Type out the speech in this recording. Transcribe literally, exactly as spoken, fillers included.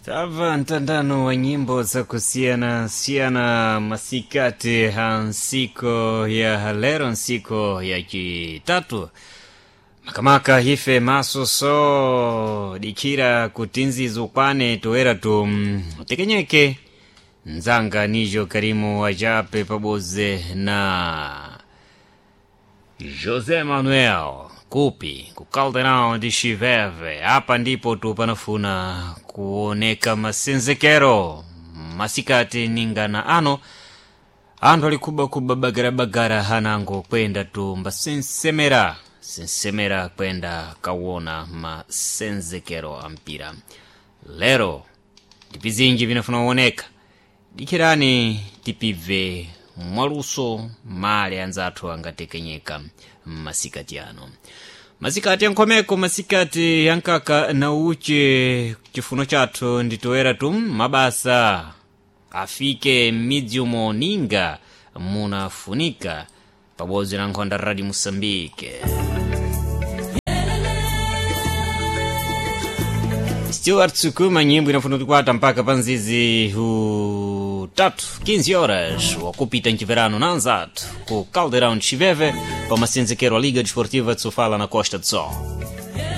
Tava mtandano wa nyimbo za kusiyana siyana masikati ha nsiko ya lero, nsiko ya chitatu makamaka ife masoso dikira kutinzizo kwane toera tu tekenyeke nzanga nijo Karimu wajape paboze na José Manuel Kupi ku Caldeirão de Chiveve. Apa ndipo tu panafuna kuoneka masenzekero masikati ningana ano anthu alikubakuba bagarabagara hanango kwenda tu mbasensemera sensemera kwenda kawona masenzekero a mpira. Lero ndipizinji vinafuna kuoneka, dikirani tipibve mwaluso male anzathu angatekenyeka mmasikati ano, masikati ankhomeko, masikati ankaka na uche. Chifuno chathu nditoera tu mabasa afike m'midzi umo ninga munafunika pabodzi na nkhonda Radio Moçambique. Stuart Sukuma nyimbo inafuna kukwata mpaka panzizi utatu quinze horas wakupita nchiverano na anzathu ku Caldeirão de Chiveve pa masenzekero a Liga Desportiva de Sofala na Costa do Sol.